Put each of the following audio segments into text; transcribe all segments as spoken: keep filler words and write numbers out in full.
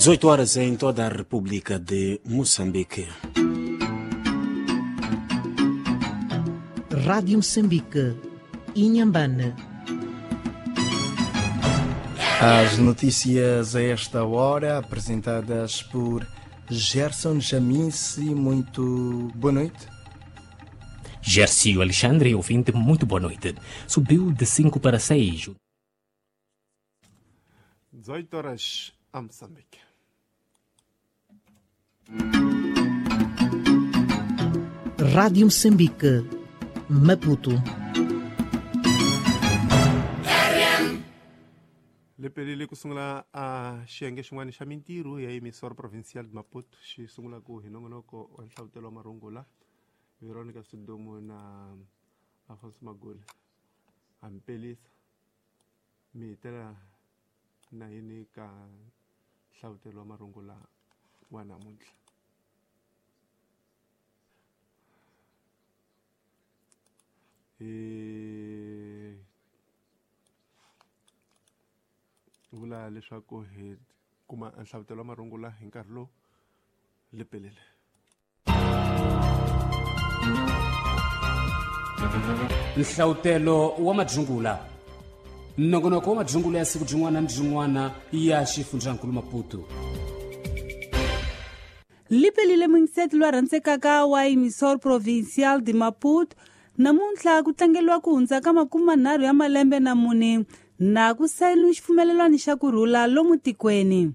dezoito horas em toda a República de Moçambique. Rádio Moçambique, Inhambane. As notícias a esta hora, apresentadas por Gerson Jaminse. Muito boa noite. Gercio Alexandre, ouvinte, muito boa noite. Subiu de cinco para seis. dezoito horas a Moçambique. Rádio Moçambique, Maputo. Lepelile ku sungula a xiyenge xin'wana xa mintirho ya emisor provincial de Maputo xi sungula ku hi nongonoko wa nhlavutelo wa marungula Veronica Sidumo na Afonso Magula hampelisa mi hitela na yini ka nhlavutelo wa marungula wa namuntlha. E vula leswaku hi kuma nhlavutelo wa marungula hi nkarhi lowu lepelele. Nhlavutelo wa madzungula, nongonoko wa madzungula ya siku byin'wana ni byin'wana ya xifundzankulu Maputo. Lipelile mingiseti lwa rhandzekaka wa emisor provincial de Maputo namuntlha ku tlangeliwa ku hundza ka makume manharhu ya malembe na mune na ku sayiniwa xipfumelelwano xa ku rhula lomu tikweni.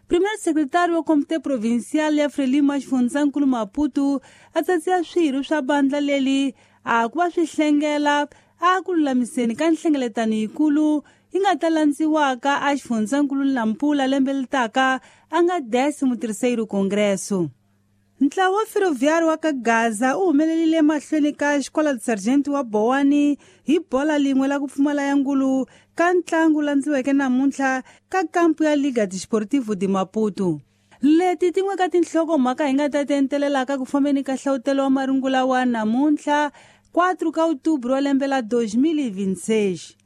Primeiro secretário wa Comité Provincial ya Frelimo ya xifundzankulu Maputo a tsatsiya swirho swa bandla leli a ku va swi hlengela a ku lulamiseni ka nhlengeletano yikulu yi nga ta landziwaka a xifundzankulu Nampula lembe leri taka a nga décimo terceiro congresso. Ntlawa wa ferroviário wa ka Gaza u humelelile emahlweni ka xikola de sargento wa Bowani hi bola lin'we la ku pfumala ya ngulu ka ntlangu landziweke namuntlha ka kampu ya Liga Desportivo de Maputo. Leti tin'we ka tinhlokomhaka hi nga ta ti entelelaka ku fambeni ka nhlavutelo wa marungula wa namuntlha quatro ka outubro wa lembe la dois mil e vinte e seis.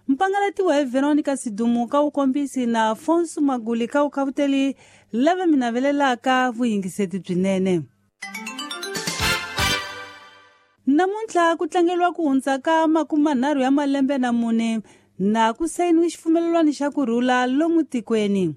Mpangalatiwa hi Veronica Sidumo ka wukombisi na Afonso Maguli ka wukavuteli lava mi navelelaka vuyingiseti byinene. Namuntlha ku tlangeliwa ku hundza ka makume manharhu ya malembe na mune na ku sayiniwa xipfumelelwano xa ku rhula lomu tikweni.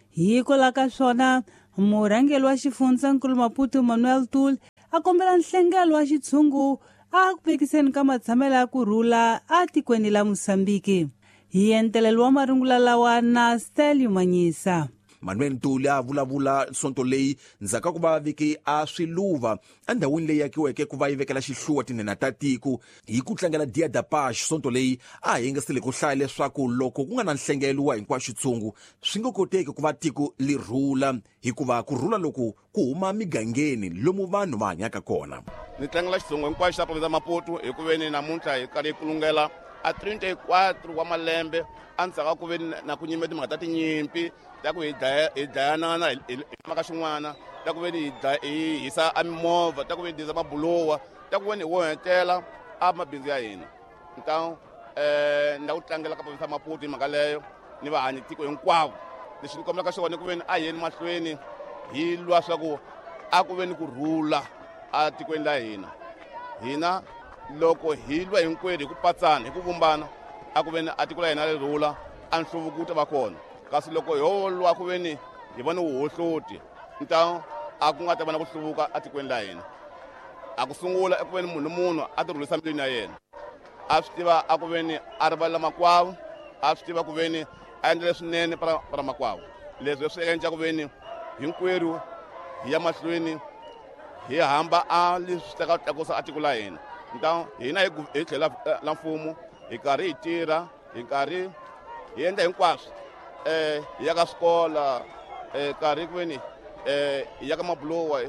Hikwalaho ka swona, murhangeri wa xifundzankulu Maputo Manuel Tul a kombela nhlengelo wa xitshungu a ku vekiseni ka matshamelo ya ku rhula a tikweni la Mozambique. Hi entelelo wa marungula lawa na Stelio Manyisa. Manuel Ntuli a vulavula sonto leyi ndzhaku ka ku va veke a swiluva endhawini leyi akiweke ku va yi vekela xihluwa tinhenha ta tiko hi ku tlangela Dia da Paz. Sonto leyi a hi nga sile ku hlaya leswaku loko ku nga na nhlengelo wa hinkwaxo xitshungu swi nga koteki ku va tiko li rhula, hikuva ku rhula loku ku huma migangeni lomu vanhu va hanyaka kona. Ni tlangela xitshungu hinkwaxo xa province ya Maputo hi ku veni namuntlha hi karhi hi kulungela a trinta e quatro wa malembe endzhaku ka ku veni na ku nyime timhaka ta tinyimpi ta ku hi dlaya hi dlayanana hi maka xin'wana, ta ku veni hi hi hisa a mimovha, ta ku veni hi disa mabulowa, ta ku veni hi wohetela a mabindzu ya hina. Ntawu eh ni la ku tlangela ka province ya Maputo hi mhaka leyo ni vahanyi tiko hinkwavo. Lexi ni kombelaka xona ku veni a yeni mahlweni hi lwa swa ku a ku veni ku rhula a tikweni la hina. Hina loko hi lwa hinkwerhu hi ku patsana hi ku vumbana a ku veni a tiko la hina ri rhula a nhluvuko wu ta va kona. Kasi loko ho lwa ku veni hi vona wuhohloti ntawu a ku nga ta va na ku hluvuka etikweni la hina. A ku sungula eku veni munhu munhu a ti rhulisa mbilwini ya yena, a swi tiva a ku veni a rivalela makwavo, a swi tiva ku veni a endla leswinene para para makwavo. Leswi swi endla ku veni hinkwerhu hi ya mahlweni hi hamba a leswi ta ka tlakusa a tiko la hina. Ntawu hina hi tlhela la mfumo hi karhi hi tirha hi karhi hi endla hinkwaswo eh hi ya ka swikola eh karhi ku veni eh hi ya ka mabulowa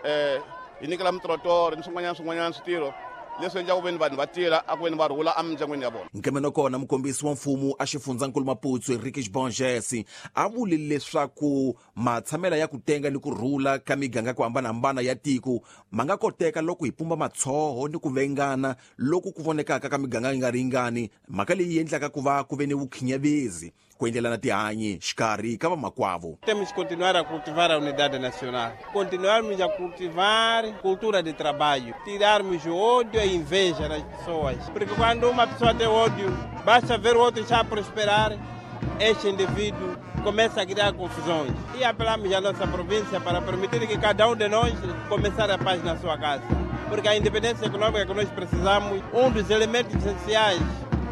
eh hi nyikela mitrotoro ni swin'wanyana swin'wanyana switirho leswi endlaka ku veni vanhu va tirha a ku veni va rhula emindyangwini ya vona. Nkemeno kona mukombisi wa mfumo a xifundzankulu Maputo Enrique Bonges a vule leswaku matshamela ya ku tenga ni ku rhula ka miganga ku hambanahambana ya tiko ma nga koteka loko hi pumba matshoho ni ku vengana loku ku vonekaka ka miganga yi nga ringani, mhaka leyi endlaka ku va ku ve ni vukhinyavezi ku endlelana tihanyi xikarhi ka vamakwavo. Temos que continuar a cultivar a unidade nacional, continuarmos a cultivar cultura de trabalho, tirarmos o ódio e a inveja das pessoas, porque quando uma pessoa tem ódio, basta ver o outro já prosperar, este indivíduo começa a criar confusões. E apelamos à nossa província para permitir que cada um de nós começar a paz na sua casa, porque a independência econômica que nós precisamos, um dos elementos essenciais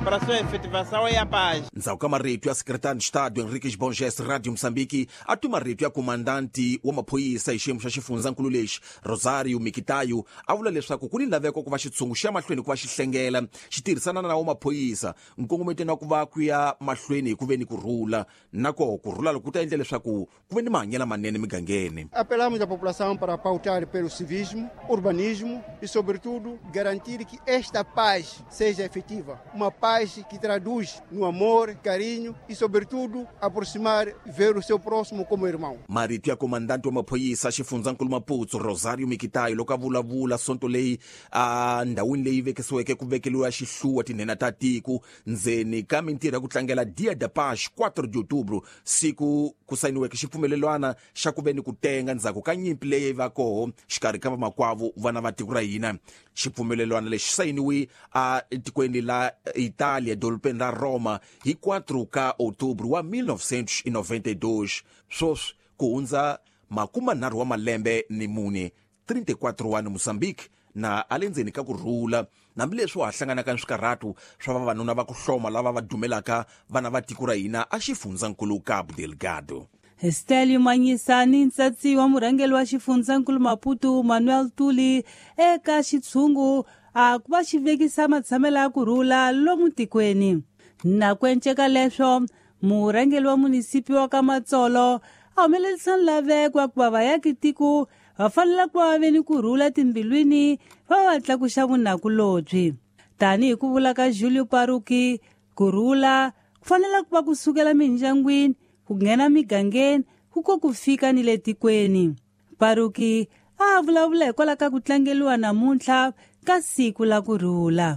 para a sua efetivação é a paz. Ndzhaku ka marito ya Secretário de Estado Henriques Bongés, Rádio Moçambique, a twi marito ya comandante wa maphorisa hi xiyimo xa xifundzankulu lexi, Rosario Mikitayo, a vula leswaku ku ni laveko ku va xitshungu xi ya mahlweni ku va xi hlengela xi tirhisana na wa maphorisa nkongometweni wa ku va ku ya mahlweni hi ku ve ni ku rhula, na koho ku rhula loko ku ta endla leswaku ku ve ni mahanyelo manene migangeni. Apelamos à população para pautar pelo civismo, urbanismo e, sobretudo, garantir que esta paz seja efetiva. Uma paz que traduz no amor, carinho e, sobretudo, aproximar, ver o seu próximo como irmão. Marito ya comandante wa maphorisa xifundzankulu Maputo, Rosario Mikitayo, loko a vulavula sonto leyi a ndhawini leyi vekisiweke ku vekeliwa xihluwa tinhena ta tiko ndzeni ka mintirho ya ku tlangela Dia da Paz, quatro de outubro, siku ku sayiniweke xipfumelelwana xa ku ve ni ku tenga ndzhaku ka nyimpi leyi va koho xikarhi ka vamakwavo vana va tiko ra hina. Xipfumelelwana lexi sayiniwe a tikweni la Itália, dorobeni ra Roma, hi quatro ka outubro wa mil novecentos e noventa e dois. Sweswi ku hundza makumanharhu wa malembe ni mune, trinta e quatro wa Moçambique na a le ndzeni ka ku rhula, hambileswi wa ha hlanganaka ni swikarhatu swa vavanuna va ku hloma lava va dumelaka vana va tiko ra hina a xifundzankulu Cabo Delgado. Stelio Manyisani, ntsatsi wa murhangeri wa xifundzankulu Maputo Manuel Tuli, eka xitshungu a ku va xi vekisa matshamelo ya ku rhula lomu tikweni. Na ku enceka leswo, murhangeri wa munisipi wa ka Matsolo a humelerisa nlaveko wa ku va vayaki tiko va fanele ku va ve ni ku rhula timbilwini va va tlakuxa vunakulobye. Tanihi ku vula ka Julio Paruki, ku rhula ku fanele ku va ku sukela mindyangwini, ku nghena migangeni, ku ko ku fika ni le tikweni. Paruki a vulavula hikwalaho ka ku tlangeriwa namuntlha ka siku la ku rhula.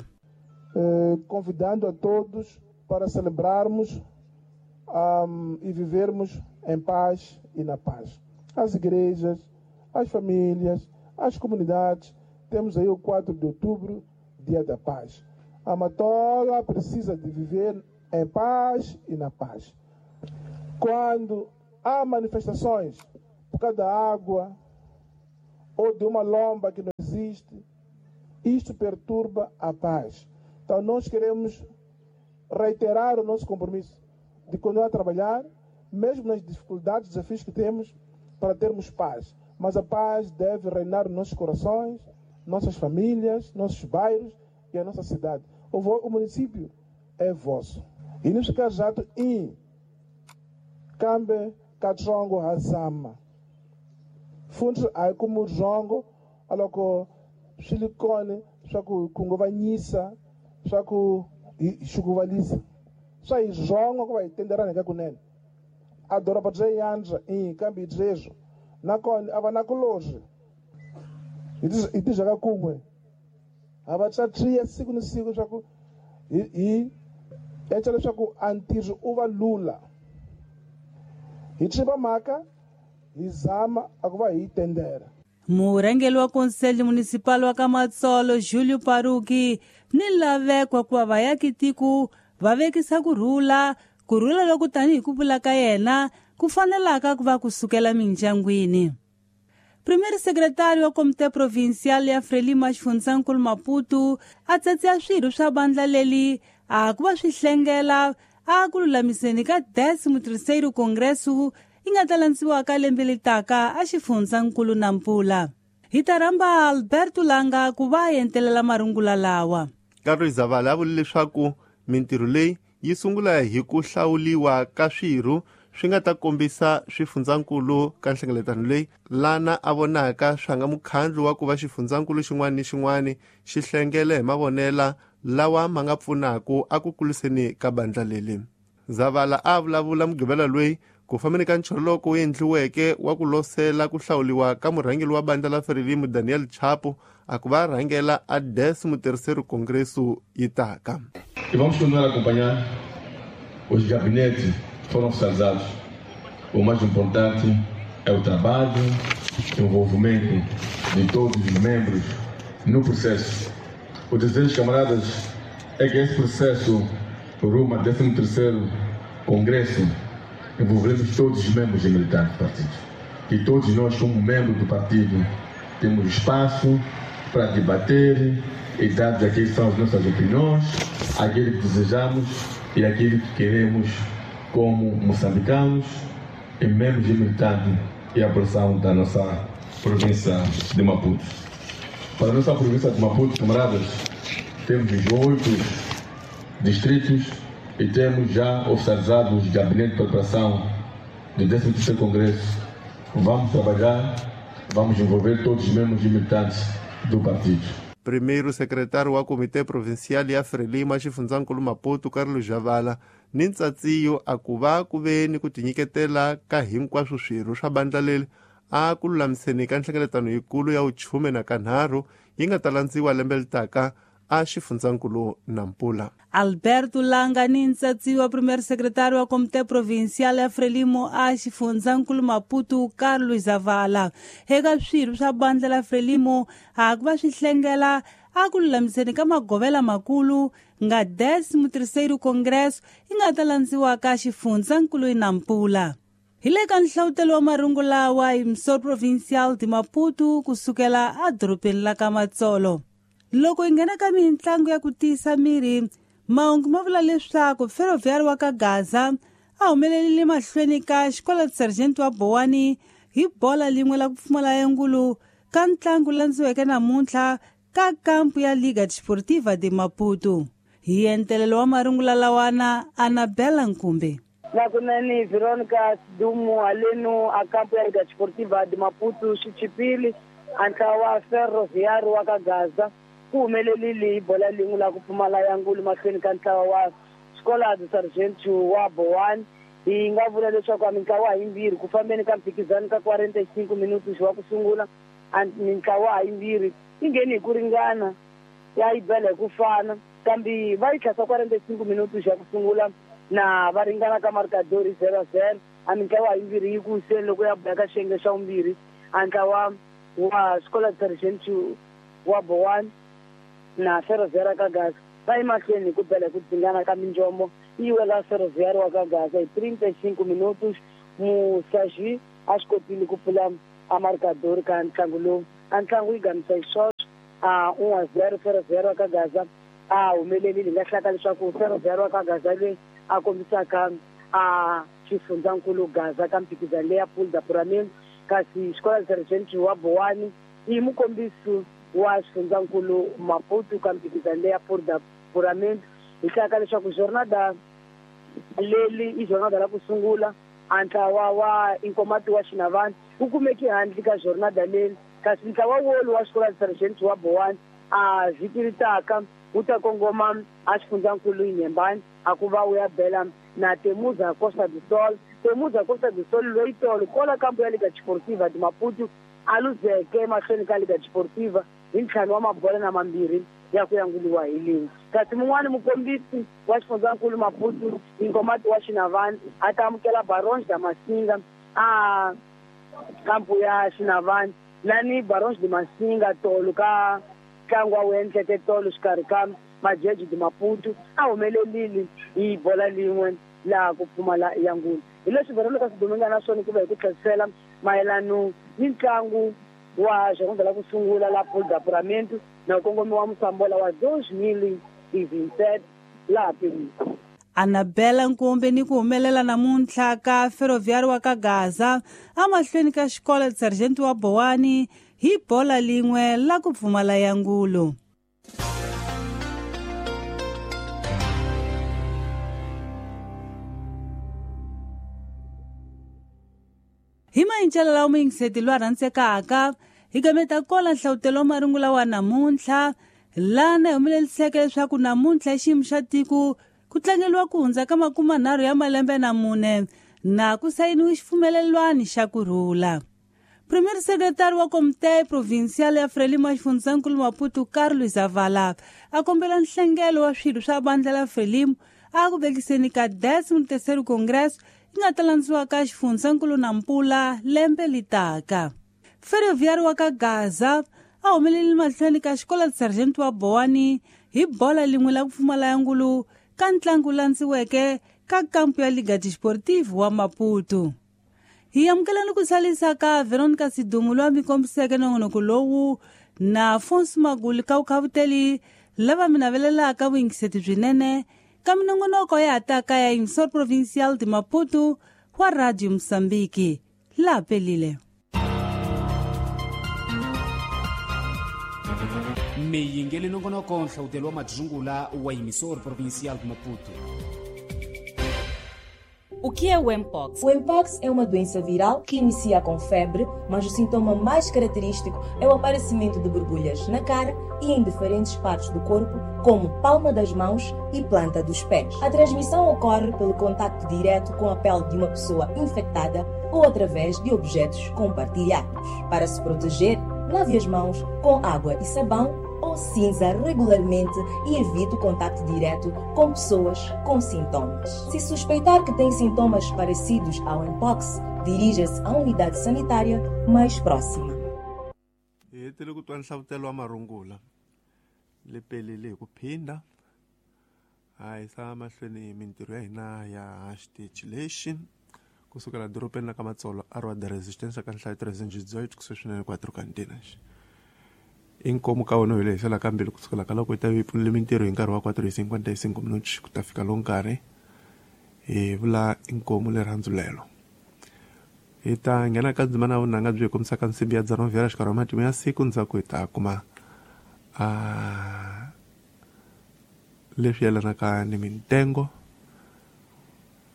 Eh, convidando a todos para celebrarmos um, e vivermos em paz e na paz. As igrejas, as famílias, as comunidades, temos aí o quatro de outubro, Dia da Paz. A Matola precisa de viver em paz e na paz. Quando há manifestações por causa da água ou de uma lomba que não existe, isto perturba a paz. Então nós queremos reiterar o nosso compromisso de continuar a trabalhar, mesmo nas dificuldades, desafios que temos, para termos paz. Mas a paz deve reinar nos nossos corações, nossas famílias, nossos bairros e a nossa cidade. O, o município é vosso. E nesse caso, em kambe katsongo hazama. Fundi a como zongo aloko silicone swa ku khunguvanyisa swa ku xukuvalisa swa hi zongo ku va hi tenderana ka kunene a doroba bya yandza i kambe hi byeswo nakona a va na kulozwi hi tizhaka kun'we a va tsatriya siku ni siku swa ku hi hi endla leswaku a ntirho u va lula hi tiva mhaka hi zama a ku va hi tendera. Murhangeri wa Conselho Municipal wa ka Matsolo Julio Paruki ni laveko ku va vayaki tiko va vekisa ku rhula, ku rhula loku tanihi ku vula ka yena ku fanelaka ku va ku sukela mindyangwini. Primeiro secretário wa Comité Provincial ya Frelimo xifundzankulu Maputo a tsatsiya swirho swa bandla leli a ku va swi hlengela a ku lulamiseni ka décimo terceiro Congresso yi nga ta landziwaka lembe leri taka a xifundzankulu Nampula. Hi ta rhamba Alberto Langa ku va entelela marungula lawa. Carlos Zavala a vule leswaku mintirho leyi yi sungula hi ku hlawuliwa ka swirho swi nga ta kombisa swifundzankulu ka nhlengeletano leyi, lana a vonaka swa nga mukhandlu wa ku va xifundzankulu xin'wana ni xin'wana xi hlengele hi mavonela lawa ma nga pfunaka a ku kuliseni ka bandla leli. Zavala a vulavula Mugqivela loyi ku fambeni ka ncholoko wu endliweke wa ku losela ku hlawuliwa ka murhangeri wa bandla la Frelimo Daniel Chapo a ku va rhangela a décimo terceiro Congresso yi taka. E vamos continuar a acompanhar os gabinetes foram oficializados. O mais importante é o trabalho, o envolvimento de todos os membros no processo. O desejo, camaradas, é que esse processo, rumo ao décimo terceiro Congresso, envolvemos todos os membros e militantes do partido. E todos nós, como membros do partido, temos espaço para debater e dar aquilo que são as nossas opiniões, aquilo que desejamos e aquilo que queremos como moçambicanos e membros e militantes e a população da nossa província de Maputo. Para a nossa província de Maputo, camaradas, temos os oito distritos e temos já oficializado os gabinetes de preparação do décimo terceiro Congresso. Vamos trabalhar, vamos envolver todos os membros e militantes do partido. Primeiro secretário wa Comitê Provincial ya Frelimo xifundzankulu Maputo Carlos Javala ni ntsatsiyo a ku va ku ve ni ku tinyiketela ka hinkwaswo swirho swa bandla leri a ku lulamiseni ka nhlengeletano yikulu ya vuchume na kanharhu yi nga ta landziwa lembe litaka a xifundzankulu Nampula. Alberto Langa ni ntsatsiwa primeiro secretário wa Comitê Provincial ya Frelimo a xifundzankulu Maputo Carlos Zavala eka swirho swa bandla la Frelimo a ku va swi hlengela a ku lulamiseni ka magovela makulu nga décimo terceiro Congresso yi nga ta landziwa ka xifundzankulu Nampula. Hi le ka nhlawutelo wa marungu lawa hi Msor Provincial de Maputo kusukela edorobeni la ka Matsolo. Loko hi nghena ka mintlangu ya ku tiyisa miri, mahungu ma vula leswaku Ferroviário wa ka Gaza a humelelile mahlweni ka xikola Sergeant wa Bowani hi bola lin'we la ku pfumala engulu ka ntlangu landziweke namuntlha ka kampu ya Liga Desportiva de Maputo. Hi entelelo wa marungula lawana, Anabela Nkumbe. Nakunani Veronica Dumu alenu a kampu ya Liga Desportiva de Maputo xichipili a ntlawa Ferroviário wa ka Gaza ku humelelile hi bola lin'we la ku pfumala ya ngulu mahlweni ka ntlawa wa Escola do Sargento wa Bowani. Hi nga vula leswaku a mintlawa yimbirhi ku fambeni ka mphikizano ka quarenta e cinco minutos wa ku sungula, a mintlawa yimbirhi yi ngheni hi ku ringana ya yi bela hi ku fana, kambe va yi tlhasa quarenta e cinco minutos ya ku sungula na va ringana ka marcador zero zero. A mintlawa yimbirhi yi ku wiseni loko ya boya ka xiyenge xa vumbirhi, a ntlawa wa Escola do Sargento wa Bowani na Ferroviário ka Gaza va yi mahlweni hi ku bela hi ku dzingana ka minjombo yi wela Ferroviário wa ka Gaza hi trinta e cinco minutos. Musaji a swi kotile ku pfula a marcador ka ntlangu lowu. A ntlangu yi gamisa hi swoswo a un a zero Ferroviário wa ka Gaza a humelelile. Hi nga hlaka leswaku Ferroviário wa ka Gaza leyi a kombisaka a xifundzankulu Gaza ka mphikizano leya Pool da Puramende, kasi Escola Sergeant wa Bowani i mukombisi wa xifundzankulu Maputo ka mphikizano leya Pool da Puramende. Hi hlaka leswaku jornada leli i jornada la ku sungula a ntlawa wa Inkomati wa Xinavani wu kumeke handle ka jornada leli, kasi ntlawa wolu wa Escola Sergeant wa Bowani a vhiki ri taka wu ta kongoma a xifundzankulu Inhembani a ku va wu ya bela na Temuza Costa do Sol. Temuza Costa do Sol loyi tolo kola kampu ya Liga Desportiva de Maputo a luzeke mahlweni ka Liga Desportiva hi ntlhanu wa mabola na mambirhi ya ku yanguliwa hi lin'we. Kasi mun'wani mukombisi wa xifundzankulu Maputo Inkomati wa Xinavani a ta amukela Barões da Masinga a kampu ya Xinavani lani Barões de Masinga tolo ka ntlangu wa wu endleke tolo xikarhi ka Majeji de Maputo a humelelile hi bola lin'we laha ku pfumala ya ngulu. Hi leswi Veronica Siduminga na swona ku va hi ku tlherisela mayelano ni ntlangu wa jornada la ku sungula la Pool da Puramento na kongomi wa Musambola wa dois mil e vinte e sete laha Pemba. Anabela Nkumbe ni ku humelela namuntlha ka Ferroviário wa ka Gaza amahlweni ka xikola Sergeant wa Bowani hi bola lin'we la ku pfumala ya ngulu. Hi mayincela lawa muyingiseti lwa rhandzekaka hi gameta kola nhlawutelo wa marungula wa namuntlha lana hi humeleliseke leswaku namuntlha hi xiyimo xa tiko ku tlangeliwa ku hundza ka makumanharhu ya malembe na mune na ku sayiniwe xipfumelelwani xa ku rhula. Primeiro secretário wa Comitê Provincial ya Frelimo xifundzankulu Maputo Carlos Zavala a kombela nhlengelo wa swirho swa bandla la Frelimo a ku vekiseni ka décimo terceiro Congresso yi nga ta landziwa ka xifundzankulu Nampula lembe litaka. Ferroviário wa ka Gaza a humelele mahlweni ka xikola Sargento wa Boani hi bola lin'we la ku pfumala ya ngulu ka ntlangu landziweke ka kampu ya Liga Desportiva wa Maputo. Hi amukela ni ku salisa ka Veronica Sidumu loyi a mi kombiseke nongonoko lowu na Afonso Maguli ka vukhavuteli lava mi navelelaka vuyingiseti byinene ka minongonoko ya hataka ya Emissor Provincial de Maputo wa Radio Moçambique. La pelile. Miyingeli nongonoko nhlawutelo wa madzungula wa Emissor Provincial de Maputo. O que é o Mpox? O Mpox é uma doença viral que inicia com febre, mas o sintoma mais característico é o aparecimento de borbulhas na cara e em diferentes partes do corpo, como palma das mãos e planta dos pés. A transmissão ocorre pelo contacto direto com a pele de uma pessoa infectada ou através de objetos compartilhados. Para se proteger, lave as mãos com água e sabão ou cinza regularmente e evite o contacto direto com pessoas com sintomas. Se suspeitar que tem sintomas parecidos ao Mpox, dirija-se à unidade sanitária mais próxima. Hi tele ku twa nhlavutelo wa marungula le pelele hi ku phinda a yisa mahlweni mintirho ya hina ya xitichi lexi kusukela dorobeni la ka Matsolo a ri wa the resistance ka nhlayo trezentos e dezoito kusuhi swinene quatro cantinas. Inkomu ka wona hi lehisela ka mbili kusukela ka loko yi ta yi pfunile mintirho hi nkarhi wa quatro e cinquenta e cinco minutos ku ta fika lowu nkarhi hi vula inkomu lerhandzu lelo. Hi ta nghena ka ndzimana ya vunhanga byi hi kombisaka nsimbi ya dzana vhera xikarhi wa matimu ya siku ndzhaku hi ta kuma a leswi yelanaka ni mintengo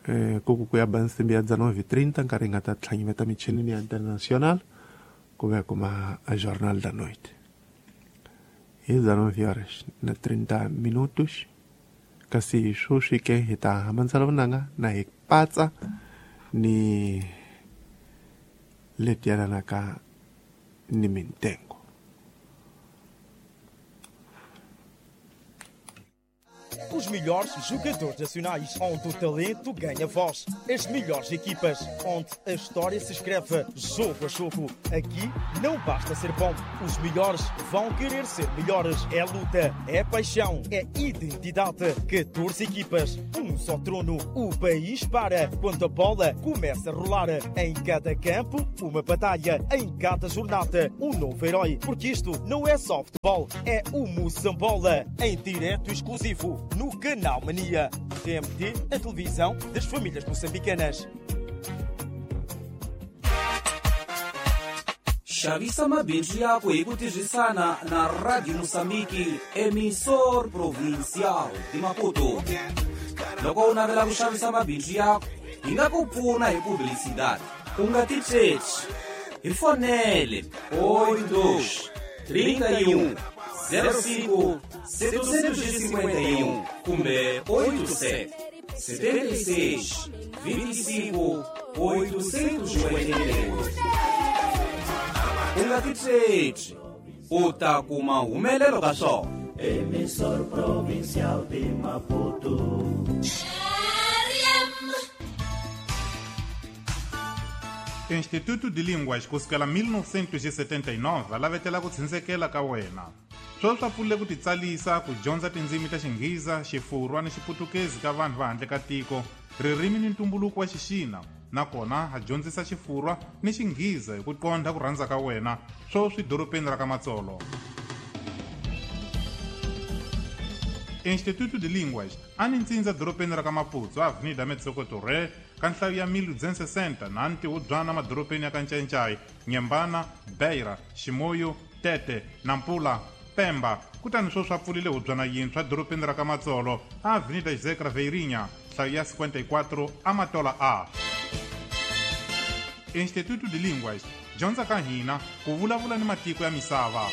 eh ku ku ya ba nsimbi ya dzana nove trinta nkarhi hi nga ta tlhanyimeta michinini ya international ku va kuma a Jornal da Noite. Hi dezenove horas na trinta minutos kasi sweswi ke hi ta hambanisela vunanga na hi patsa ni leti yelanaka ni mintengo. Os melhores jogadores nacionais, onde o talento ganha voz. As melhores equipas, onde a história se escreve jogo a jogo. Aqui não basta ser bom, os melhores vão querer ser melhores. É luta, é paixão, é identidade. catorze equipas, um só trono. O país para quando a bola começa a rolar. Em cada campo, uma batalha. Em cada jornada, um novo herói. Porque isto não é só futebol, é o Moçambola. Em direto exclusivo no Canal Mania. T M T, a televisão das famílias moçambicanas. Xavisa mabindzu yako hi ku tirhisana na Radio Moçambique, Emissor Provincial de Maputo. Loko u navela ku xavisa mabindzu yako, hi nga ku pfuna hi publicidade. U nga titsheci, hi fonele oito dois, trinta e um, zero cinco, setecentos e cinquenta e um kumbe oito sete, setenta e seis, vinte e cinco, oitocentos e oitenta e oito. U nga titsheci, u ta kuma humelelo ka swona. Emissor Provincial de Maputo. Instituto de Línguas kusukela mil novecentos e setenta e nove lavetela ku tshunsekela ka wena. Sweswi swa pfulile ku titsalisa ku dyondza tindzimi ta Xinghiza, Xifurwa ni Xiputukezi ka vanhu va handle ka tiko, ririmi ni ntumbuluko wa Xixina, nakona ha dyondzisa Xifurwa ni Xinghiza hi ku qondha ku rhandza ka wena, sweswi dorobeni ra ka Matsolo. Instituto de Línguas a ni ntsindza dorobeni ra ka Maputo, Avenida Metsoco Torre, ka nhlayo ya mil duzentos e sessenta na ntihubyana madorobeni ya ka Ncancai, Nyembana, Beira, Ximoyo, Tete, Nampula, Pemba. Kutani sweswi a pfulile hubyana yintshwa dorobeni ra ka Matsolo, Avenida José Craveirinha, nhlayo ya cinquenta e quatro, Amatola A. Instituto de Línguas, dyondza ka hina ku vulavula ni matiko ya misava.